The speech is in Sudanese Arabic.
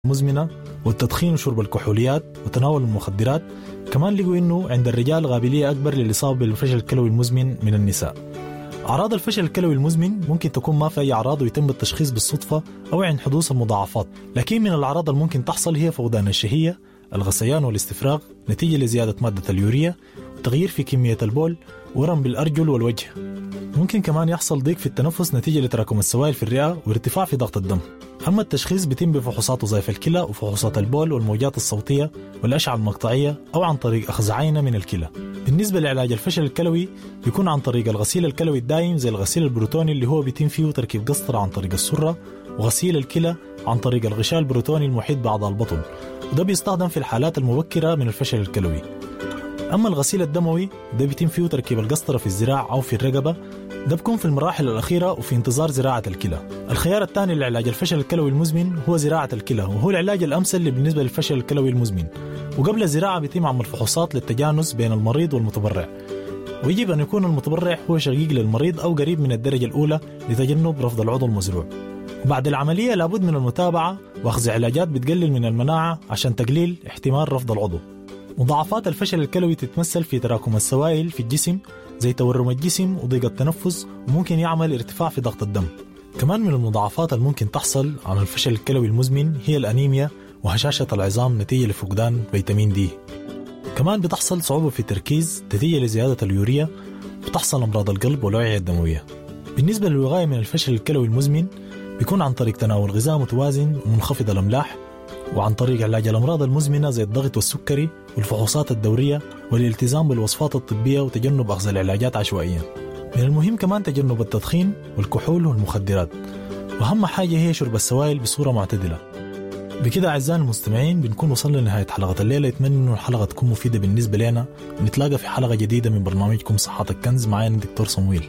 المزمنة والتدخين وشرب الكحوليات وتناول المخدرات. كمان لقوا إنه عند الرجال قابلية أكبر للإصابة بالفشل الكلوي المزمن من النساء. أعراض الفشل الكلوي المزمن ممكن تكون ما في أي أعراض ويتم التشخيص بالصدفة أو عند حدوث المضاعفات، لكن من الأعراض الممكن تحصل هي فقدان الشهية، الغثيان والاستفراغ نتيجة لزيادة مادة اليوريا، وتغيير في كمية البول، ورم بالأرجل والوجه. ممكن كمان يحصل ضيق في التنفس نتيجة لتراكم السوائل في الرئة وارتفاع في ضغط الدم. أما التشخيص بيتم بفحوصات وظائف الكلى وفحوصات البول والموجات الصوتية والأشعة المقطعية أو عن طريق أخذ عينة من الكلى. بالنسبة لعلاج الفشل الكلوي بيكون عن طريق الغسيل الكلوي الدائم زي الغسيل البروتوني اللي هو بيتم فيه تركيب قسطرة عن طريق السرة، وغسيل الكلى عن طريق الغشاء البروتوني المحيط بأعضاء البطن، وده بيستخدم في الحالات المبكرة من الفشل الكلوي. أما الغسيل الدموي ده بيتم فيه تركيب القسطرة في الذراع أو في الرقبة، ده بيكون في المراحل الأخيرة وفي انتظار زراعة الكلى. الخيار الثاني لعلاج الفشل الكلوي المزمن هو زراعة الكلى، وهو العلاج الأمثل بالنسبة للفشل الكلوي المزمن. وقبل الزراعة بيتم عمل فحوصات للتجانس بين المريض والمتبرع، ويجب أن يكون المتبرع هو شقيق للمريض أو قريب من الدرجة الأولى لتجنب رفض العضو المزروع. وبعد العملية لابد من المتابعة وأخذ علاجات بتقلل من المناعة عشان تقليل احتمال رفض العضو. مضاعفات الفشل الكلوي تتمثل في تراكم السوائل في الجسم زي تورم الجسم وضيق التنفس، وممكن يعمل ارتفاع في ضغط الدم. كمان من المضاعفات الممكن تحصل عن الفشل الكلوي المزمن هي الأنيميا وهشاشة العظام نتيجة لفقدان فيتامين دي. كمان بتحصل صعوبة في التركيز نتيجة لزيادة اليوريا، وتحصل أمراض القلب والأوعية الدموية. بالنسبة للوقاية من الفشل الكلوي المزمن بيكون عن طريق تناول غذاء متوازن ومنخفض الأملاح، وعن طريق علاج الأمراض المزمنة زي الضغط والسكري والفحوصات الدورية والالتزام بالوصفات الطبية وتجنب أخذ العلاجات عشوائيا. من المهم كمان تجنب التدخين والكحول والمخدرات، وأهم حاجة هي شرب السوائل بصورة معتدلة. بكده أعزائي المستمعين بنكون وصلنا لنهاية حلقة الليلة. أتمنى إنه الحلقة تكون مفيدة بالنسبة لنا. نتلاقى في حلقة جديدة من برنامجكم صحتك كنز. معايا الدكتور صمويل.